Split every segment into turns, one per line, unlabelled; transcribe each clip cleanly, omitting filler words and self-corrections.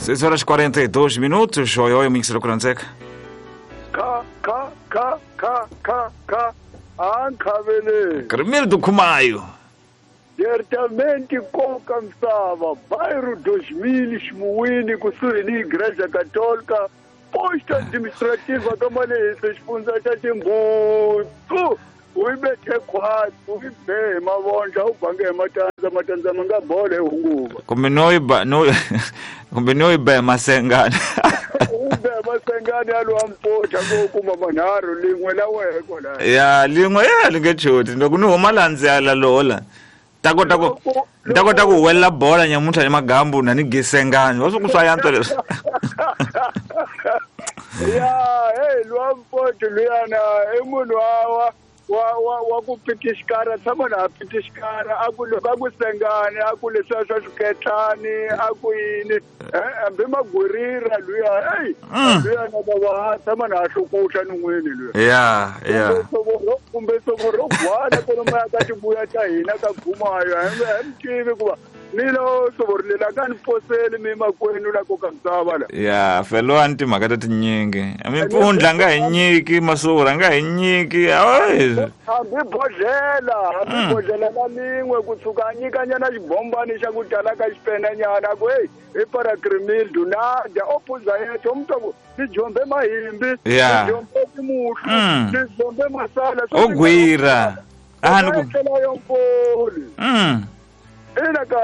6 horas 42 minutos. Oi, oi, Mixer Kuranzek.
K, K, K, K, K, K. Ankhavele.
Cremildo Kumayo.
Certamente koka msava, bairro 2000, Ximuwini, kusuhi ni Igreja Católica, posto administrativa kamalehisa xifundza xa Timbutsu. U yi bethe khwatsi, u yi be hi mavondla, u bange hi matandza, matandza ma nga bole hi hunguva.
Kumbe no yi ba no kumbe no yi ba hi masengana.
U be hi masengana ya lowa mpfutha ku kuma manharhu lin'we la wehe kwalaya.
Ya lin'we ya li nge choti loko ni huma la ndzi ya la lola. Ta kota ku ta kota ku huwelela bola nyamuntlha ni magambu na ni gisengani wa swi ku swa yantswa leswi.
Ya hey lowa mpfutha luyana i munhu wa ku pitixikara tshama na pitixikara a ku loko a ku sengani a ku leswiya swa swiketlani a ku yini hambi magwirira luya eyi luya na bava tshama na hlukuhla nin'wini luya.
Ya ya
kumbe sovo ro gwala kolomo ya ka tibuya ta hina ka Gumayo a mi tivi kuva ni lo sovo ri lela ka ni poseli mi makwenu la koka misava la.
Ya felo a ni timhaka ta tinyingi mimpfundla nga hi nyiki masura nga hi nyiki
hambi bodlela na lin'we kusuka a nyikanyana xibombani xa ku tala ka xipenanyana ku heyi i para Cremildo na dya o phuza yexe u mi twa ku ni jombe mahimbi ni jombe timuhlu ni jombe masala
o gwira a ni ku
tlhela yo mpfuli. Ina ka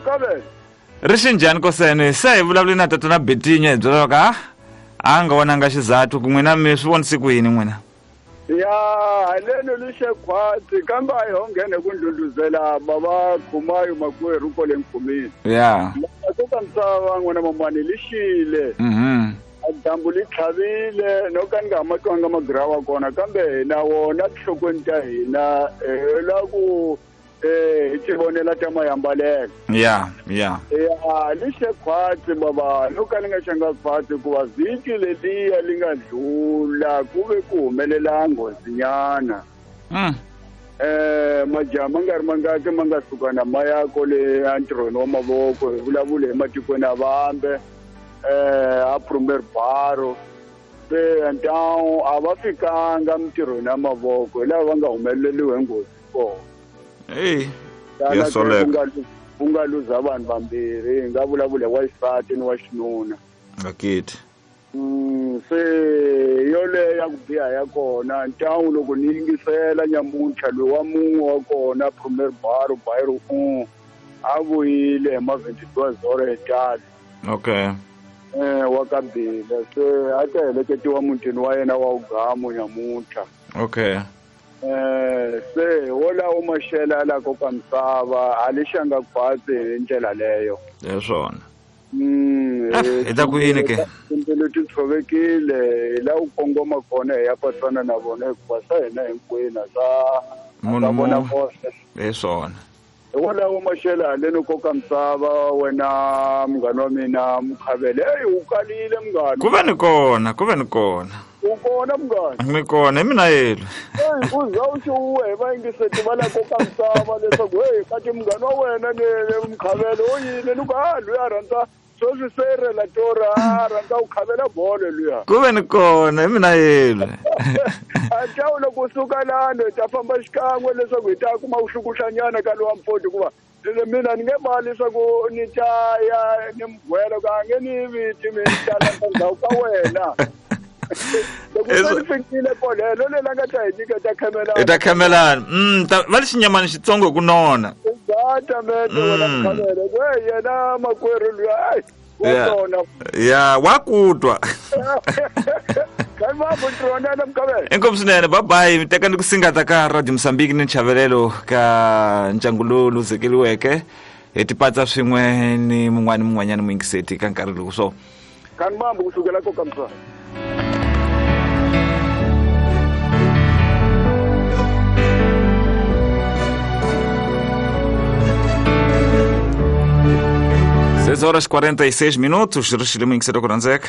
kabe
ri xinjhani kosene se hi vulavuli na tatana Betinya hi byela ka a nga vonanga xizathu ku n'wina mi swi vonise ku yini n'wina?
Ya haleno lixe khwatsi kambe a hi ho nghene ku ndlundluzela bava Khumayo makwerhu kwale nkhumini.
Ya
koka misava n'wana mamani lixile. A dyambu li tlhavile no ka ni nga ha ma twanga magirawa kona kambe hina wona tinhlokweni ta hina hi la ku hi tivonela ta mayambalelo.
Ya ya
ya lixe khwatsi bava no ka li nga xanga khwatsi hikuva vhiki leliya li nga dlula ku ve ku humelela nghozinyana. Majaha ma nga ri mangaki ma nga suka na ma ya kole entirhweni wa mavoko hi vulavule hi matikweni ya vambe a Premier Baro se então a va fikanga mintirhweni ya mavoko hi lava va nga humeleliwi hi nghozi kona.
Hey, ya soleka.
Ku nga luza vanhu vambirhi hi nga vulavula wa xisati ni wa xinuna.
Akiti.
Se yoleyo ya ku biha ya kona ntawu loko ni yingisela nyamuntlha loyi wa mun'we wa kona Premier Baro Bairo a vuyile hi ma 22 zoro etali.
Okay.
Wa ka Bila se a ta heleketiwa mutini wa yena wa Ugamu nyamuntlha.
Okay.
Se wolawo maxela la koka misava a li xanga khwatsi hi ndlela leyo.
Hi swona. Hi ta ku yini ke?
Timbilu ti tshovekile hi la u kongoma kona hi ya patsana na vona hikuva swa hina hinkwenu swa
munhu
vona koxe.
Hi swona.
Hi wolawo maxela haleni koka misava wena munghana wa mina Mukhavele. Eyi u kalile munghana.
Ku ve ni kona, ku ve ni kona.
U kona munghana?
Mi kona hi mina yelo.
Eyi u za u xuwe hi vayingiseti va la koka misava leswaku heyi kati munghana wa wena ni Mukhavele u yini ni ku a luya rhandza sweswi se relatora a rhandza u khavela bolo luya.
Ku ve ni kona hi mina yelo.
A ntawu loko u suka lani hi ta famba xikan'we leswaku hi ta kuma vuhlukuhlanyana ka lowa mpfoti hikuva mina ni nge mali leswaku ni ta ya ni mugwela ku a nge ni viti mi ta landza ndhawu ka wena. Loko se ni fikile kolelo leri nga ta hi nyika ta khemelana.
I ta khemelana. Va li xinyamani xitsongo hi ku nona.
Gata mete wena Mukhavele. We yena makwerhu luya ai wa nona.
Ya wa kutwa. Inkomu swinene bye bye teka ni ku singata ka Radio Mozambique ni nchavelelo ka ndyangu lowu luzekeriweke hi tipatsa swin'we ni mun'wana ni mun'wanyana muyingiseti ka nkarhi lowu so.
Kani mambo kusukela koka misava.
6 horas 46 minutos, Rixile muyingiseti ku rhandzeka.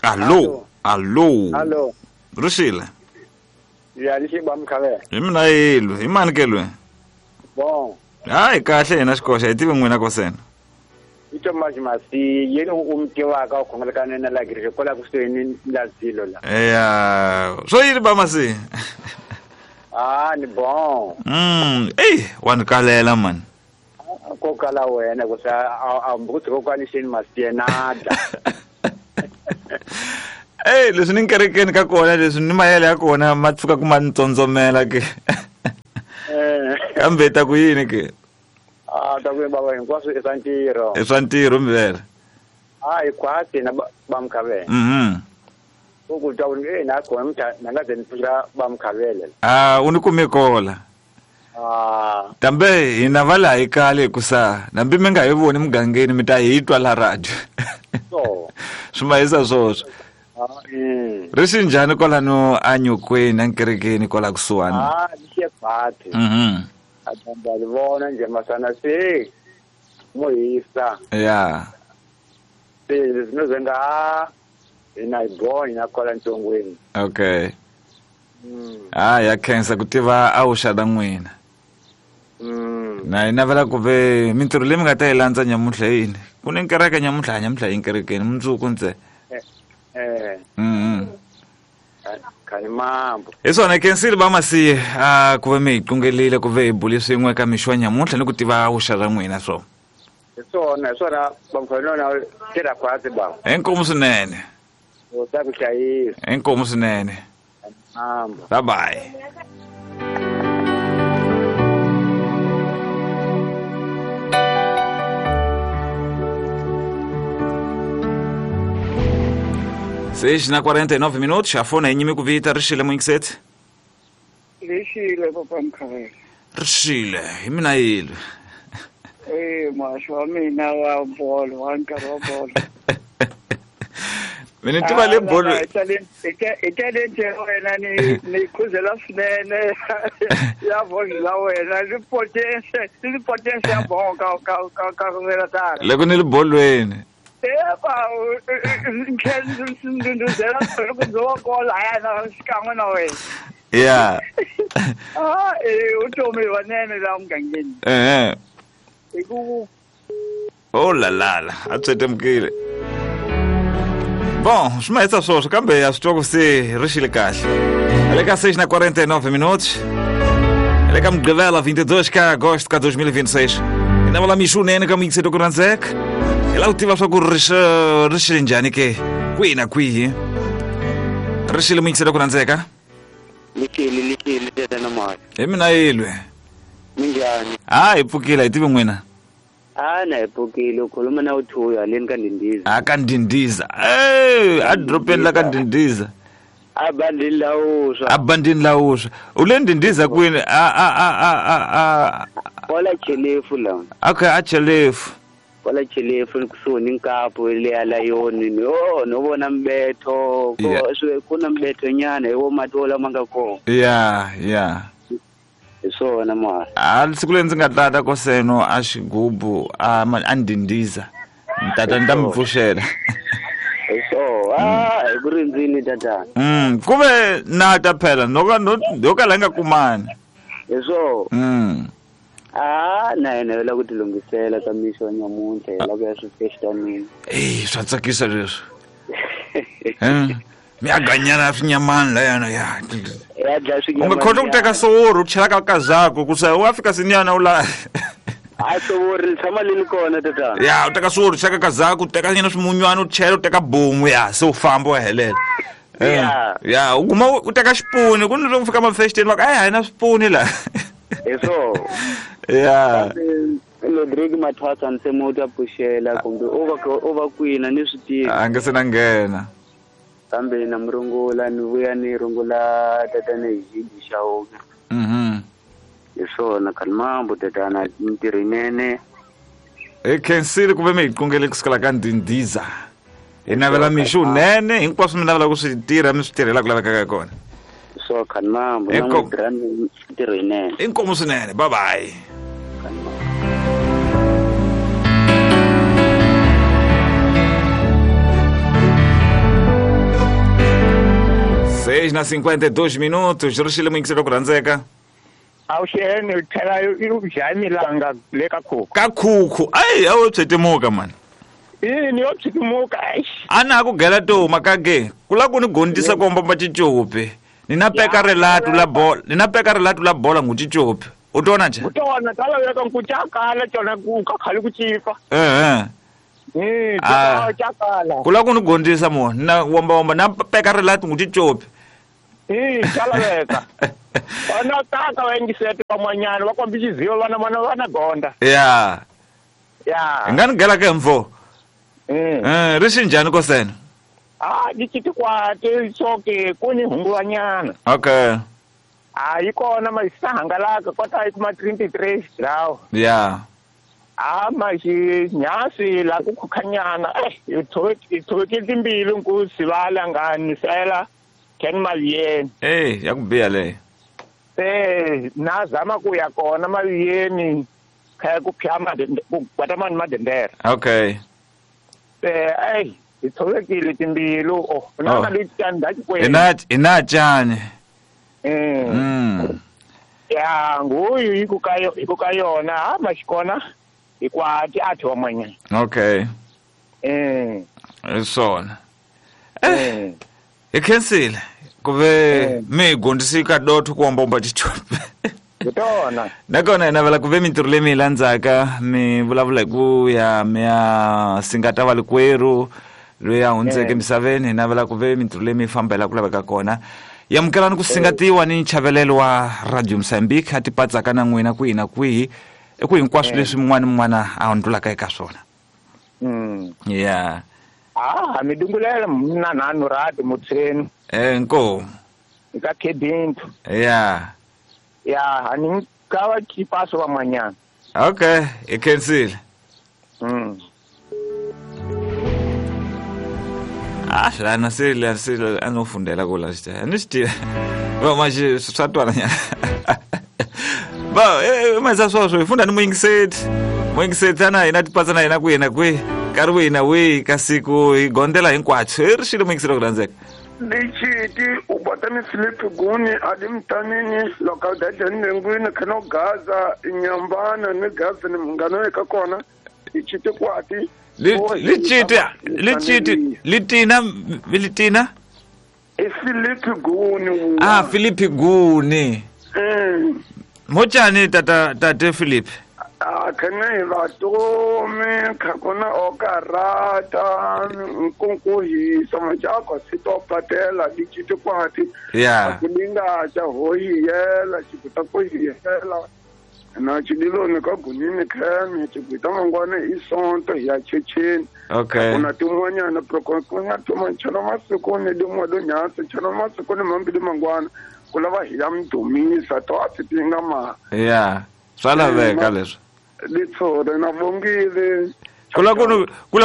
Allo, allo.
Allo.
Rixile.
Ya lixiba Mukhavele.
Hi mina yelo, hi mani ke loyi?
Bon.
Hayi kahle hina xikoxa hi tivi n'wina kosena.
I Thomas Masi yena u mi tivaka u khongelekana na la kereke kwala kusuhi ni la zilo la.
Eya swo yini ba Masi?
Ah ni bon.
Ey wa ni kalela man.
Ko kala wena ku sa a mbuti ko kwani xini Masi yena da.
Ey leswi ni kerekeni ka kona leswi ni mayele ya kona ma tshuka ku ma ni tsondzomela ke. Kambe ta ku yini ke?
Ah ta ku baba hinkwaswo i swa ntirho.
I swa ntirho mbele.
Ah hi khwatsi na ba Mkhavele. Ku ku ta ku na kona mta na nga ze ni pfuxa ba Mkhavele.
Ah u ni kume kola.
Ah
tambe hina va laha hi kale hikusa nambi mi nga hi voni mugangeni mi ta hi twa la radio.
So
swi mahisa swoswo. Ri xi njhani kwalano anyokweni ankerekeni kwala kusuhani?
Ah ni khwatsi. A li vona nje masana se mo hisa.
Ya.
Se leswi no nga hina hi boha hina kwala ntsongweni.
Okay. Ah ya khensa ku tiva a wu xana n'wina. Na hi navela ku ve mintirho leyi mi nga ta yi landza nyamuntlha yini? Ku ni nkereke nyamuntlha nyamuntlha yi nkerekeni mundzuku ntse. Hi swona khensile ba Masi a ku ve mi hi qungelile ku ve hi bule swin'we ka mixo wa nyamuntlha ni ku tiva vuxa ra n'wina swo.
Hi swona ba Mkhavele tirha khwatsi ba.
Inkomu swinene.
U ta ku hlayisa.
Inkomu swinene. Bye bye. 6:49 a fona yi nyime ku vita rixile muingiseti.
Rixile papa Mkhavele.
Rixile hi mina yilo.
Muhaxi wa mina wa bolo wa nkarhi wa bolo.
Mina tiva le bolo.
I talente ya wena ni khuzela swinene ya voice la wena ni potential ya bonga ka ka tala.
Loko ni le bolweni.
Epa ndunduzela loko ndzo wa kola ya xikan'we na wena.
Yeah.
Ah u tomi wanene la mugangeni. Hi ku
oh la la la a tsetemukile. Bom, swi mahisa swoswo kambe ya swi twa ku se ri xile kahle. Le ka 6:49 Le ka Mugqivela 22 ka agosto ka 2026. Hi navela mixo nene ka muyingiseti ku rhandzeka. Hi lava ku tiva swa ku ri xile njhani ke kwihi na kwihi. Ri xile muyingiseti ku rhandzeka.
Likile tata na mali.
Hi mina yilwe.
Minjhani?
Ah hi pfukile hi tivi n'wina.
Ah na hi pfukile u khuluma na uthuya haleni ka Ndindiza.
Ah ka Ndindiza. A dropeni la ka Ndindiza.
A bandini la uswa.
A bandini la uswa. U le Ndindiza kwini? A
Kwala chelefu la.
Okay, a chelefu.
Kwala chelefu kusuhi ni nkapu leya la yoni. Oh no vona mbetho. Ko swi ku na mbetho nyana hi wo mati wo lama nga kona.
Yeah, yeah.
Hi swona mara.
A siku leri ndzi nga tata koseno a xigubu a Ndindiza. Tata ni ta mi pfuxela.
So hi ku rindzini tata.
Ku ve na ta phela no kala nga kumani.
Hi swo. Ah na hina hi lava ku tilunghisela ka mixo wa nyamuntlha hi lava ku ya swifextanini.
Swa tsakisa leswi. Mi a ganyana swinyamani layana ya.
Ya dlaya swinyamani.
U nga khota ku teka sowori u chela ka kazako ku sa wa fika sinyana u la.
A sowori ri tshama li kona tata.
Ya u teka sowori u chela ka kazako u teka nyana swimunywana u chela u teka bomu ya se u famba wa helela. Ya u kuma u teka xipuni ku ni loko fika mafexteni va ku a hi na swipuni la.
Hi swo.
Ya.
Lodrigi Mathwasa ni se mo ta pfuxela kumbe u va kwina ni swi tivi.
A nge se na nghena.
Kambe na murungula ni vuya ni rungula tatana hi Gidi Xaoke. Hi swona khalimambo tatana mintirho yinene.
Hi khensile ku ve mi hi qungele kusukela ka Ndindiza. Hi navela mixo nene hinkwaswo mi navela ku swi tirha mi swi tirhela ku lavekaka hi kona.
So khalimambo na mintirho yinene.
Inkomu swinene. Bye bye. 6:52 Rixile muyingiseri ku rhandzeka.
Awuxeni tlhela i dlaya milanga le ka khuku.
Ka khuku ai a wo tshwetimuka mani.
Ini yo tshwetimuka ai.
A na ku gela toma ka ge ku la ku ni gondisa ku ombomba chichopi ni na peka relatu la bola ni na peka relatu la bola ngu chichopi u tona nje
u tona ka laveka ku chakala tona ku ka khale ku chifa chakala
ku la ku ni gondisa mo na womba womba na peka relatu ngu chichopi
xa laveka vana tata va yingisete van'wanyana va kombisiziwa vana vana va na gonda
ya
ya
hi nga ni gela ke mfo ri xi njhani kosena
a ni chitikwati soke ku ni hunguvanyana
okay
a yi kona ma sa hangalaka kota yi kuma 23 lawo
ya
a ma xi nyasi la ku khukhanyana hi tshovekile timbilu ku sivala nga ni sela ken maliyeni
ya ku biha leyo
na zama ku ya kona maliyeni khaya ku phyama ku kwata mani madendera
okay
hi tshovekile timbilu na na lexi xikwembu
ina cani
ya nguyu yi ku ka yona ha ma xikona hikwati a thi van'wanyana
okay hi swona hi khensile ku ve mi hi gondisi ka dotho ku ombomba chichopi
tona
nakona hi navela ku ve mintirho leyi mi yi landzaka mi vulavula hi ku ya mi ya singata valikwerhu loyi a hundzeke emisaveni hi navela ku ve mintirho leyi mi yi fambela ku laveka kona yamukelani ku singatiwa ni nchavelelo wa Radio Mozambique a tipatsaka na n'wina kwihi na kwihi i ku hinkwaswo leswi mun'wana ni mun'wana a hundzulaka eka swona ya
a mi dungulela mna nanu radi mutsheni
inkomu
ka khedinto
ya
ya ani ka va chipaso van'wanyana
okay hi khensile lana se se a no fundela ku la xi ni xi tiva va ma xi swa twana nyana va ma sa sweswo hi funda ni muyingiseti ana hina tipatsa na hina kwihi na kwihi nkarhi wihi na wihi ka siku hi gondela hinkwaswo i ri xilo muyingiseli ku rhandzeka
Lichiti ubatani Philip Guni alimtanini localidade nengwini khano Gaza inyambana ni Gaza ni mungano eka kona ichiti kwati
lichiti litina litina
e Philip Guni
Philip Guni motjani tata tate Philip
khane vatomi khakona okarata nkunkuhisa machako sitopatela lichiti kwati
ya
kulinga cha hoyiyela chikuta kuhiyela na chililo ka gunini khane chikuta mangwana isonto ya checheni
okay
kuna tin'wanyana prokona tuma chana masiku ni din'we nyasi chana masiku ni mambili mangwana ku lava hi ya mdumisa to a ti tinga ma
ya swa laveka leswi
litsore na vongile
kula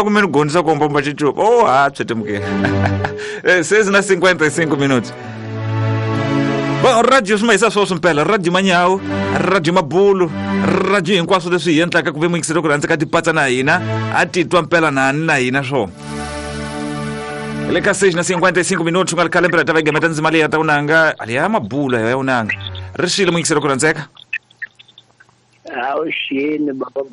ku mi ni gondisa ku ombomba chichupa ha tshetemukile 6:55 minutos Bom, radio swi mahisa swoswo mpela radio manyawu radio mabulu radio hinkwaswo leswi hi endlaka ku ve muyingiseli ku rhandza ka tipatsa na hina a titwa mpela nani na hina swona le ka 6:55 minutos nga ri khale mpela ta va gemeta ndzima leyi ya ta unanga aliya mabulu ya unanga ri xile muyingiseli ku rhandzeka
Awuxini baba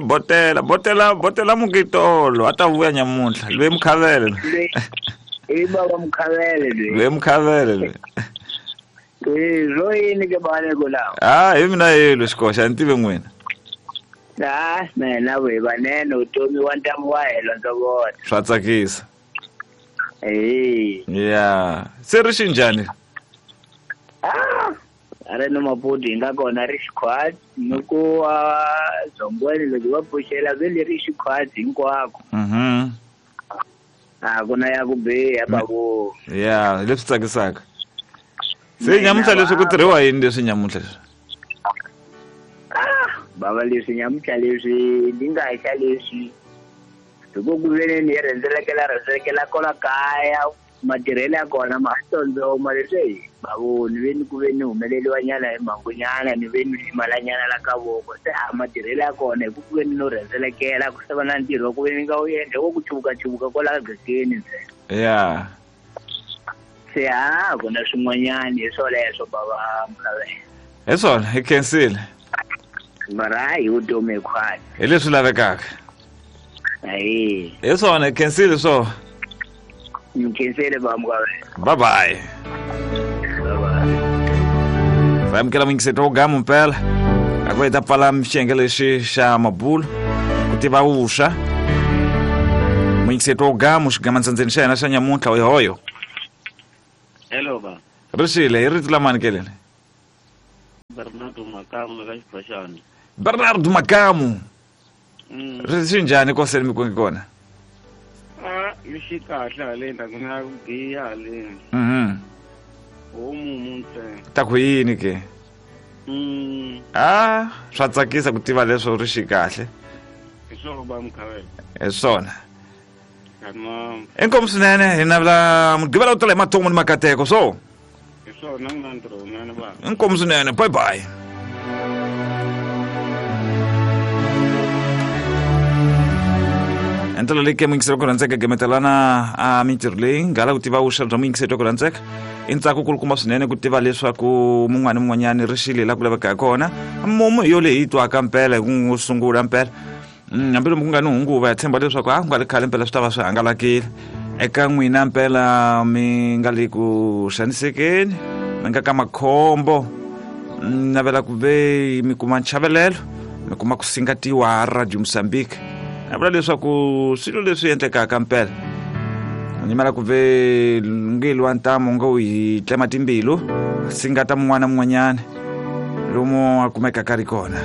botela
botela botela mukitolo a ta vuya nyamuntlha loyi mukhavele
i baba mukhavele
loyi mukhavele loyi
ro yini ke bane ko lawo
hi mina yelo xikoxa ni tive n'wina
mina vu hi vanene vutomi wa ntamu wa helo ndza vona
swa tsakisa
ya
se ri xi njhani
a ri no Maputo hi nga kona ri xikhwatsi ni ku dzongweni loko va pfuxela ve leri xikhwatsi hinkwako a ku na ya ku biha bavo
ya leswi tsakisaka se nyamuntlha leswi ku tirhiwa yini leswi nyamuntlha leswi
bava leswi nyamuntlha leswi ni nga xa leswi hiko ku veni ni rhendzelekela kola kaya matirhelo ya kona ma tsondzoma leswi bavo ni ve ni ku ve ni humeleliwa nyana hi mhangunyana ni ve ni limalanyana la ka voko se a matirhelo ya kona hi ku ve ni no rhendzelekela ku se va na ntirho wa ku ve ni nga wu endla wo ku chuvukachuvuka kwala gakeni ntsena
ya
se a ku na swin'wanyani hi swoleswo bava mukhavela
Hi swona hi khensile.
Mara hayi vutomi hikwani.
Hi leswi lavekaka.
Ayi.
Hi swona hi khensile swo.
Ni khensile ba mukavela.
Bye bye. Va amukela muyingiseti wo gamu mpela a ku hi ta pfala xiyenge lexi xa mabulu ku tiva vuswa muyingiseti wo gamu xigamatsandzeni xa hina xa nyamuntlha hoyohoyo.
Hello ba.
Ri xile hi rito lamani ke leli?
Bernardo Makamu ka Xibashani.
Bernardo Makamu. Ri swi njhani koseni mi kungi kona?
Ah, lexi kahle haleni a ku na ku biha haleni. Ho mumu ntsena.
Ta ku yini ke? Ah, swa tsakisa ku tiva leswo ri xi kahle.
Hi swona ba mukhavela.
Hi swona. Inkomu swinene hi navela mugqivela wu tala hi matomu ni makateko so.
Hi swona ku na ntirho wunene ba.
Inkomu swinene, bye bye. Endlela leyi ke muyingiseri ku rhandzeka gemetelana a mintirho leyi nghala ku tiva vuxa bya muyingiseri ku rhandzeka i ntsako kulukumba swinene ku tiva leswaku mun'wana ni mun'wanyani ri xile la ku laveka hi kona mumu hi yo leyi yi twaka mpela hi ku sungula mpela. Hambi lomu ku nga ni hunguva hi tshemba leswaku a ku nga ri khale mpela swi ta va swi hangalakile eka n'wina mpela mi nga le ku xanisekeni mi nga ka makhombo navela ku ve mi kuma nchavelelo mi kuma ku singatiwa Radio Mozambique. Na vula leswaku swilo leswi endlekaka mpela nyimela ku ve nge lwa ntamu nge u hi tlema timbilu singata mun'wana mun'wanyana lomu a kumekaka ri kona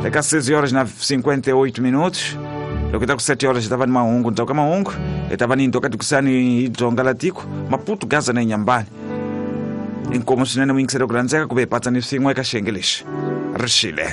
eka 6 horas na 58 minutos loko ta ku 7 horas hi ta va ni mahungu ndzhaku ka mahungu hi ta va ni ntokatikisani hi dzonga la tiko Maputo Gaza na Inyambani. Inkomu swinene muyingiseri ku rhandzeka ku ve hi patsani swin'we eka xiyenge lexi ri xile.